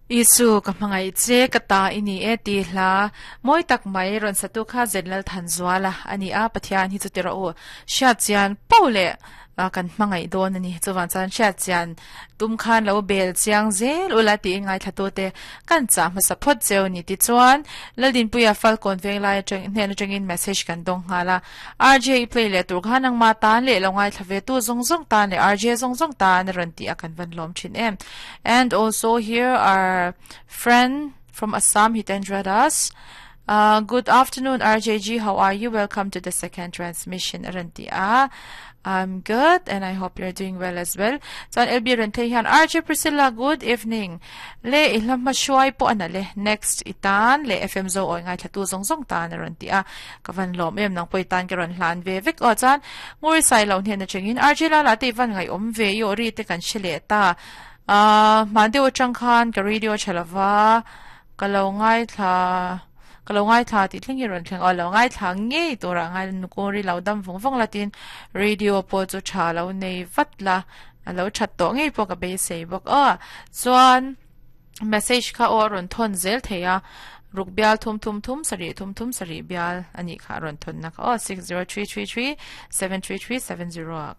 Isu ka hmangaih che ka ta i ni e tih hla mawi tak mai rawn satu kha Zenlalthanzuala a ni a, Pathian hi chu ti rawh u, hriatchian poh leh kan hmangaih dawn a ni. Chuvang chuan hriatchian tum khan lo bel chiang zel ula tiin ngaithlatute kan chah hmasa phawt cheu ni. Tichuan, Laldinpuia Falkawn Venglai atang hnen atangin message kan dawng nghal a, RJ i play leh tur khan nangmah tan leh lo ngaithla ve tu zawng zawng tan leh RJ zawng zawng tan a rawn tih a kan van lawm thin em. And also here our friend from Assam Hitendra Das. Uh, good afternoon RJG, how are you? Welcome to the second transmission a rawn ti a. I'm good and I hope you're doing well as well. Chuan LB rawn thei hian RJ Priscilla good evening. Le i hla hma hruai pawh a na le next i tan le FM zo awi ngaithla tu zawng zawng tan a rawn ti a. Ka van lawm em nang pawh i tan ka rawn hlan ve vek aw chuan Nguri sai lo hnen atangin RJ Lala te i van ngaihawm ve i aw ri te kan hre leh ta. Ahh hman deuh atang khan ka radio tha lova ka lo ngaithla ka lo ngaithla tih thleng hi rawn thleng aw lo ngaithla ngei turah ngai Nguri lo dam vawng vawng la tin radio pawh chu tha lo nei vat la a lo that tawh ngei pawh ka beisei bawk aw chuan message kha aw a rawn thawn zel thei a ruk bial thum thum thum sarih thum thum sarih bial a nih kha a rawn thawn na kha aw 60333 73370 ah.